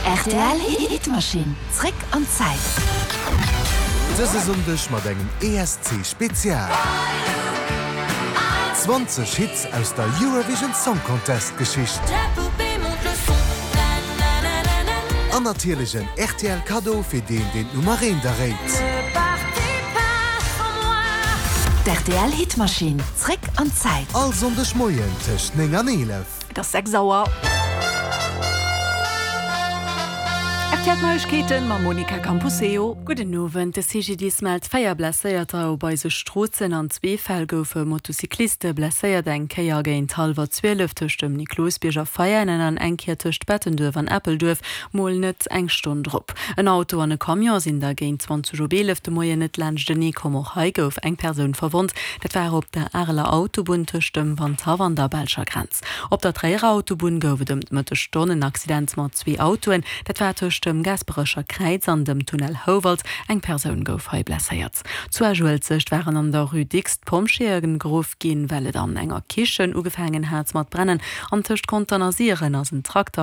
Rtl Hitmachine, zréck an d'Zäit. Dëse Sonndeg mat engem ESC Spezial. 20 Hits aus der Eurovision Song Contest Geschicht. An natierlech en rtl Kaddo fir deen deen d'Nummer eent erréit. D'RTL Hitmachine, zréck an d'Zäit. All Sonndeg Moien tëscht 9 an 11. Et ass 6 Auer. RTL Neiegkeeten mam Monica Camposeo. Gudden Owend. De CGDIS mellt 4 Blesséierter op eise Stroossen. An zwee Fäll goufe Motocycliste blesséiert, eng Kéier géint hallwer 12 tëscht dem Niklosbierg a Veianen an eng Kéier tëscht Bettenduerf an Eppelduerf, mol net eng Stonn drop. En Auto an e Camion sinn da géint 20 op 11 de Moien net laanschtenee komm. Och hei gouf eng Persoun verwonnt. Dat war op der Areler Autobunn tëscht dem Wandhaff an der belscher Grenz. Op der Tréierer Autobunn gouf et ëm d'Mëttesstonn en Accident mat zwee Autoen. Dat war tëscht dem Gaasperecher Kräiz an dem Tunnel Houwald. Eng Persoun gouf hei blesséiert. Zu Esch-Uelzecht waren an der Rue Dicks d'Pompjeeë geruff ginn, well et an enger Kichen ugefaangen hat mat brennen. An tëscht Contern a Siren ass en Trakter.